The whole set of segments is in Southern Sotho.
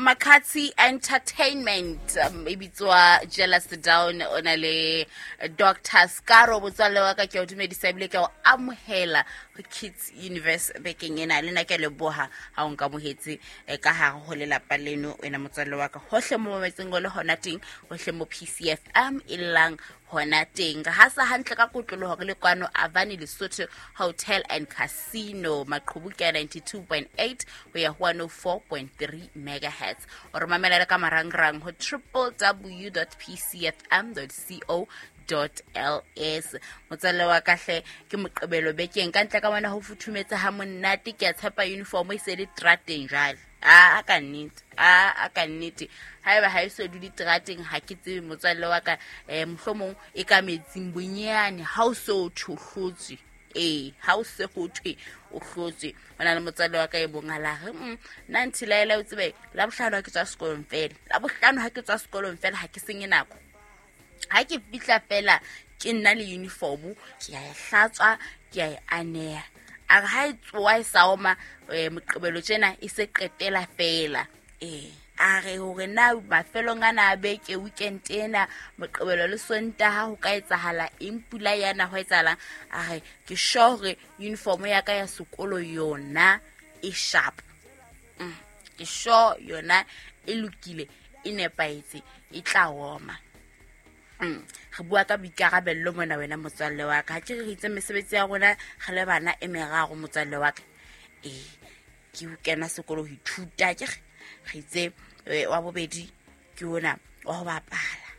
Makatsi Entertainment e bitswa Jealous Down, o na le Dr Scaro. Botswalle wa ka, ke a o dumedisa ebile ke a o amohela ho Kids Universe bekeng ena. Le nna ke a leboha ha o nkamohetse ka hare ho lelapa leno, wena motswalle wa ka, hohle mo mametseng o le hona teng, hohle mo PCFM e llang hona teng. Re hasa hantle ka kotloloho re le kwano Avani Lesotho Hotel and Casino, maqhubu ke a 92.8 ho ya ho 104.3 megahertz. O re mamela le ka marangrang ho www pcfm co ls. Motswalle wa ka hle, ke Moqebelo bekeng, ka ntle ka mona ho futhumetse ha monate. Ke a tshepa uniform e se le trateng jwale. A ka nnete, a ka nnete, haeba ha e so dule terateng, ha ke tsebe, motswalle wa ka, mohlomong e ka metsing bonyane. Ha o se o thwe o hlotswe, ee, ha o se ho thwe o hlotswe. O na le motswalle wa ka e bong a la re, nna nthilaela, o tsebe, Labohlano ha ke tswa sekolong fela, Labohlano ha ke tswa sekolong fela, ha ke senye nako. Ha ke fihla fela, ke nna le uniform, ke a e hlatswa, ke a e aneha. A re ha e tsoa e sa oma, Moqebelo tjena e se qetela fela. Ee, a re hore na mafelong ana a beke, weekend ena, Moqebelo le Sontaha, ho ka etsahala eng, pula yana, ho etsahalang, a re ke sure hore uniform ya ka ya sekolo yona e sharp. Ke sure yona e lokile, e nepahetse, e tla oma. Re bua ka boikarabello mona, wena motswalle wa ka. Ha ke re re itse mesebetsi ya rona re le bana e meraro, motswalle wa ka? Ee, ke ho kena sekolo ho ithuta, ke re itse wa bobedi ke ona wa ho bapala,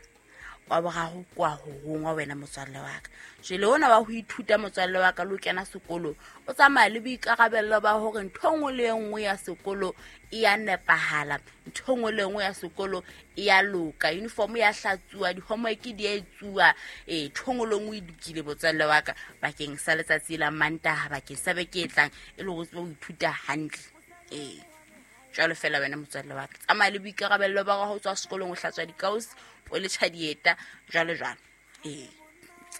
wa boraro ke wa ho rongwa, wena motswalle wa ka. Jwale ona wa ho ithuta, motswalle wa ka, le ho kena sekolo, o tsamaya le boikarabello ba hore ntho e nngwe le e nngwe ya sekolo e ya nepahala, ntho e nngwe le e nngwe ya sekolo e ya loka, uniform ya hlatsuwa, di-homework di a etsuwa, ee, ntho e nngwe le e nngwe e lokile, motswalle wa ka, bakeng sa letsatsi la Mantaha, bakeng sa beke e tlang, e le hore o tsebe ho ithuta hantle. Ee, jwalo fela, wena motswalle wa ka, tsamaya le boikarabello ba ho tswa sekolong, o hlatswa dikausi, o letjha dieta, jwalo jwalo. Ee,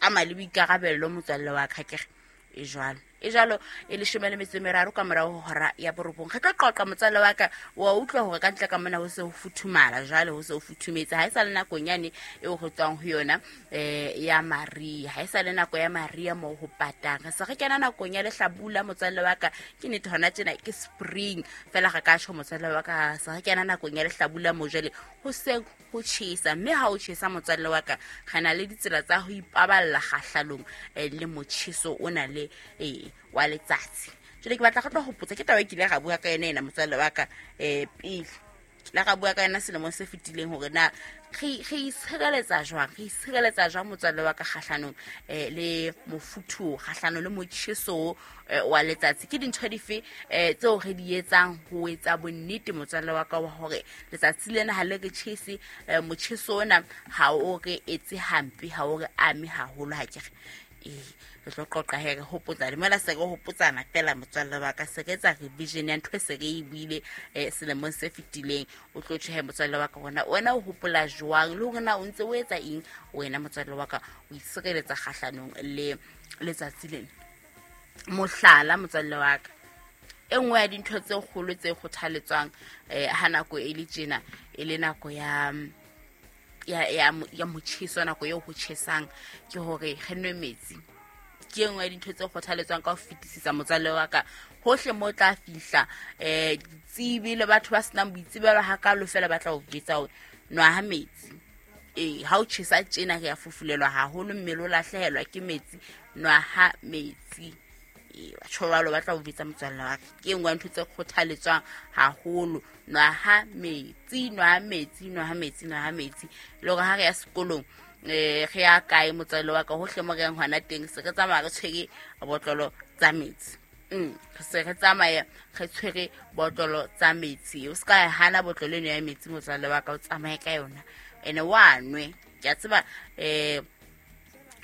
tsamaya le boikarabello, motswalle wa ka, kere e jwalo, e jwalo. E 13 ka morao ho hora ya 9. Re tlo qoqa, motswalle wa ka. Wa utlwa hore ka ntle ka mona ho se ho futhumala jwale, ho se ho futhumetse. Ha e sa le nakong yane eo re tswang ho yona ya maria, ha e sa le nako ya maria moo ho patang. Re se re kena nakong ya lehlabula, motswalle wa ka. Ke nnete, hona tjena ke spring fela, re ka tjho, motswalle wa ka, se re kena nakong ya lehlabula moo jwale ho seng ho tjhesa. Mme ha o tjhesa, motswalle wa ka, re na le ditsela tsa ho ipaballa kgahlalong le motjheso o na le wa letsatsi. Jwale ke batla re tlo hopotsa ke taba e kile ra bua ka yona ena, motswalle wa ka, pele la ra bua ka yona selemong se fetileng, hore na re itshireletsa jwang, re itshireletsa jwang, motswalle wa ka, kgahlanong le mofuthu, kgahlanong le motjheso wa letsatsi. Ke dintho dife tseo re di etsang ho etsa bonnete, motswalle wa ka, wa hore letsatsi lena ha le re tjhese, motjheso ona ha o re etse hampe, ha o re ame haholo? Ha ke re ee, re tlo qoqa he, re hopotsa mola, se re hopotsana fela, motswalle wa ka, se re etsa revision ya ntho e se re e buile selemong se fetileng. O tlo tjhehe, motswalle wa ka, hona wena o hopola jwang, le hore na o ntse o etsa eng, wena motswalle wa ka, o itshireletsa kgahlanong le letsatsi lena? Mohlala, motswalle wa ka, e nngwe ya dintho tse kgolo tse kgothaletswang ha nako e le tjena, e le nako ya motjheso, nako eo ho tjhesang, ke hore re nwe metsi. Ke e nngwe ya dintho tse kgothaletswang ka ho fetisisa, motswalle wa ka. Hohle mo tla fihla ditsebi le batho ba senang boitsebelo hakalo fela, ba tla o jwetsa hore nwa ha metsi. Ee, ha o tjhesa tjena, re a fufulelwa haholo, mmele o lahlehelwa ke metsi. Nwa ha metsi. Ee, batho jwalo ba tla o jwetsa, motswalle wa ka. Ke e nngwe ya ntho tse kgothaletswang haholo: nwa ha metsi, nwa ha metsi, nwa ha metsi, nwa ha metsi. Le hore ha re ya sekolong, re ya kae, motswalle wa ka, hohle mo re yang hona teng, se re tsamaya re tshwere botlolo tsa metsi. Re se re tsamaya re tshwere botlolo tsa metsi. O se ka hana botlolo eno ya metsi, motswalle wa ka, o tsamaye ka yona ene wa nwe. Ke a tseba re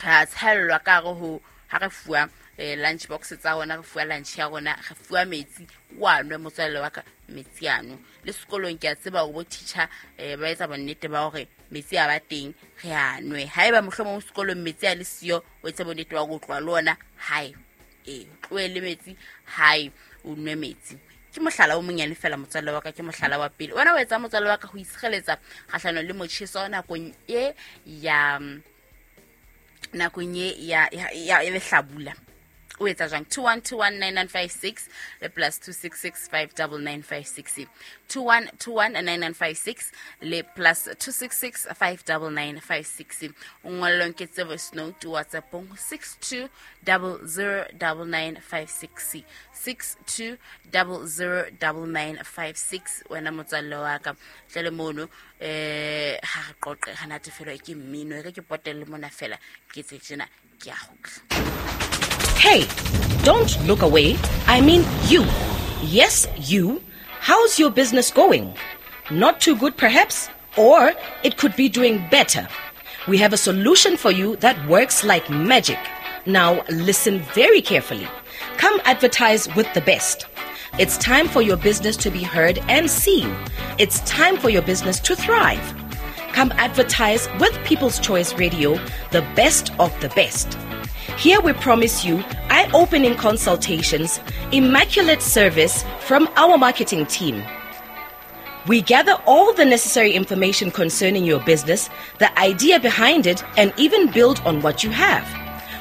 a tshellwa ka hare ho ha re fuwa lunch box tsa rona, re fuwa lunch ya rona, re fuwa metsi. Wa nwe, motswalle wa ka, metsi ano. Le sekolong ke a tseba hore bo teacher ba etsa bonnete ba hore metsi a ba teng, re a nwe. Haeba mohlomong sekolong metsi a le siyo, o etse bonnete ba hore o tloha le ona hae. Ee, tlohe le metsi hae, o nwe metsi. Ke mohlala o monyane fela motswalle wa ka, ke mohlala wa pele. Wena o etsa motswalle wa ka ho itshireletsa kgahlanong le motjheso nakong e ya nakong e ya ya ya lehlabula. O etsa jwang? 21219956 le plus 26659956. 21219956 le plus 26659956. O ngollong ke tse voice note WhatsAppong 62009956, 62009956. Wena motswalle wa ka, tle le mono ha re qoqe, ha natefelwa ke mmino, e re ke potelle mona fela ke tse tjena, ke a kgutla. Hey, don't look away. I mean you. Yes, you. How's your business going? Not too good, perhaps? Or it could be doing better. We have a solution for you that works like magic. Now, listen very carefully. Come advertise with the best. It's time for your business to be heard and seen. It's time for your business to thrive. Come advertise with People's Choice Radio, the best of the best. Here we promise you eye-opening consultations, immaculate service from our marketing team. We gather all the necessary information concerning your business, the idea behind it, and even build on what you have.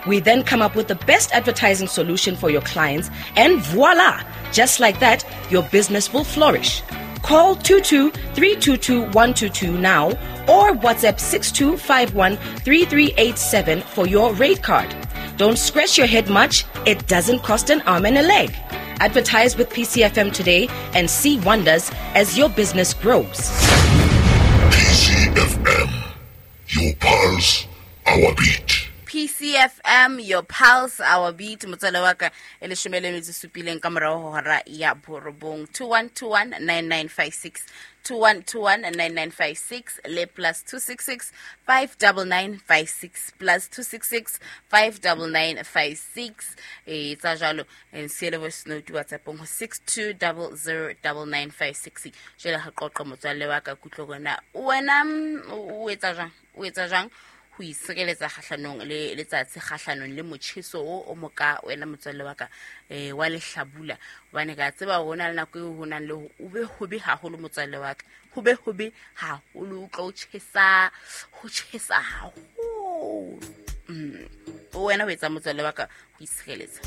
We then come up with the best advertising solution for your clients, and voila! Just like that, your business will flourish. Call 22-322-122 now or WhatsApp 6251-3387 for your rate card. Don't scratch your head much. It doesn't cost an arm and a leg. Advertise with PCFM today and see wonders as your business grows. PCFM, your pulse, our beat. PCFM, your pulse, our beat. Motswale wa ka, e leshome le metso e supileng ka morao ho hora ya borobong. 21219956, 21219956 le plus 26659956, plus 26659956. E tsa jwalo, siele voice note WhatsAppong ho 62009956. Jwale ha qoqa motswalle wa ka, kutlo rona wena, o etsa jwang? O etsa jwang ho itshireletsa kgahlanong le letsatsi, kgahlanong le motjheso o moka wena motswalle wa ka, wa lehlabula? Hobane ka tseba hore ho na le nako eo ho nang le hore o be hobe haholo motswalle wa ka, ho be hobe haholo, o tlo tjhesa, ho tjhesa haholo. Wena o etsa motswalle wa ka ho itshireletsa?